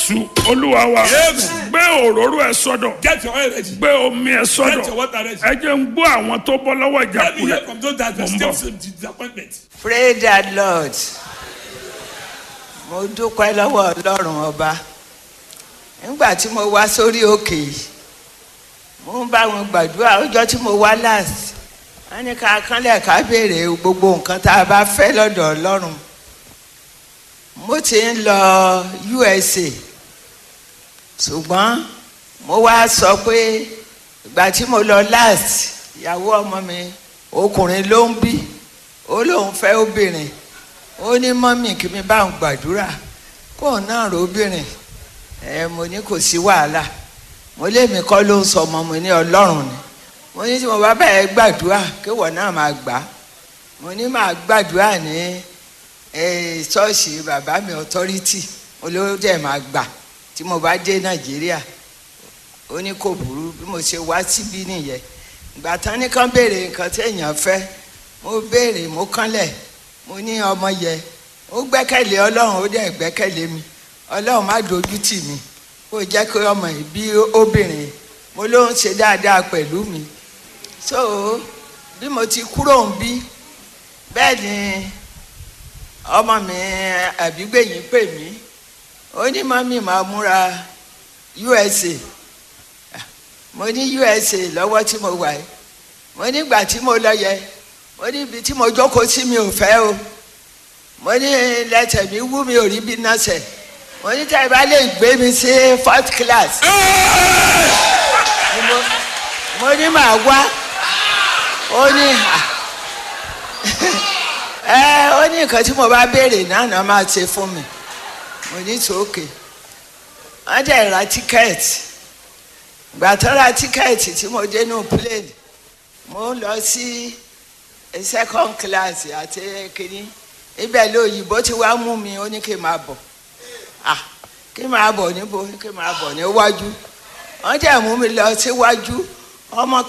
Jésù Olúwa wa. Amen. Gbé òróró ẹ sọ́dọ̀. Get your oil ready. Gbé omi ẹ Get sọ́dọ̀. your water ready. Ẹ jẹ́ ń gbọ́ àwọn tó bọ́ lọ́wọ́ Let me hear ìjákulẹ̀. from those that Mo are ń bọ̀. still disappointment. Praise the Lord. Mo dúpẹ́ lọ́wọ́ Ọlọ́run ọba. Nígbà tí mo wá sórí òkè yìí, mo ń bá wọn gbàdúrà ọjọ́ tí mo wá last. Wọ́n ní ká kánlẹ̀ ká béèrè gbogbo nǹkan tá a bá fẹ́ lọ́dọ̀ Ọlọ́run. Mo ti ń lọ USA, ṣùgbọ́n mo wá sọ pé ìgbà tí mo lọ last, ìyàwó ọmọ mi ọkùnrin ló ń bí, ó lóun fẹ́ obìnrin. Ó ní mọ́mì kí mi bá òun gbàdúrà kóun náà róbìnrin. Ẹ mo ní kò sí wàhálà, mo lémi kọ́ ló ń sọ ọmọ, mo ní Ọlọ́run ni. Mo ní tí mo bá bẹ̀rẹ̀ gbàdúrà kéwọ̀ náà máa gbà á. Mo ní máa gbàdúrà ní ṣọ́ọ̀ṣì bàbá mi authority olówó dẹ̀ máa gbà tí mo bá dé Nàìjíríà. Ó ní kò burú. Bí mo ṣe wá síbí nìyẹn. Ìgbà tán ní kán béèrè nǹkan tí èèyàn fẹ́, mo béèrè, mo kánlẹ̀, mo ní ọmọ yẹ ó gbẹ́kẹ̀lé Ọlọ́run, ó dẹ̀ gbẹ́kẹ̀lé mi. Ọlọ́run má dojú tì mí, kó jẹ́ kí ọmọ yìí bí obìnrin. Mo ló ń ṣe dáadáa pẹ̀lú mi. So bí mo ti kúrò ń bí bẹ́ẹ̀ ni ọmọ mi àbígbẹ̀yìn pè mí. Ó ní mọ́mí, máa múra USA. Mo ní USA lọ́wọ́ tí mo wà yìí. Mo nígbà tí mo lọ yẹ, mo ní ibi tí mo jókòó sí mi ò fẹ́ o. Mo ní lẹ́sẹ̀ mi wú, mi ò rí bí náà sẹ̀. Mo ní tẹ́ ẹ bá lè gbé mi sí fourth class, mo ní màá wá. Ó ní à ẹ ó ní nǹkan tí mo bá béèrè náà náà máa ṣe fún mi. Mo ní tòókè. Wọ́n dẹ̀ ra tíkẹ́ẹ̀tì. Ìgbà tó ra tíkẹ́ẹ̀tì tí mo dé nù plane, mo ń lọ sí second class àti kínní ibẹ̀ lóyìnbó tí wàá mú mi. Ó ní kí n máa bọ̀. Ah, kí n máa bọ̀ níbo? Kí n máa bọ̀ níwájú. Wọ́n dẹ̀ mú mi lọ síwájú. Ọmọ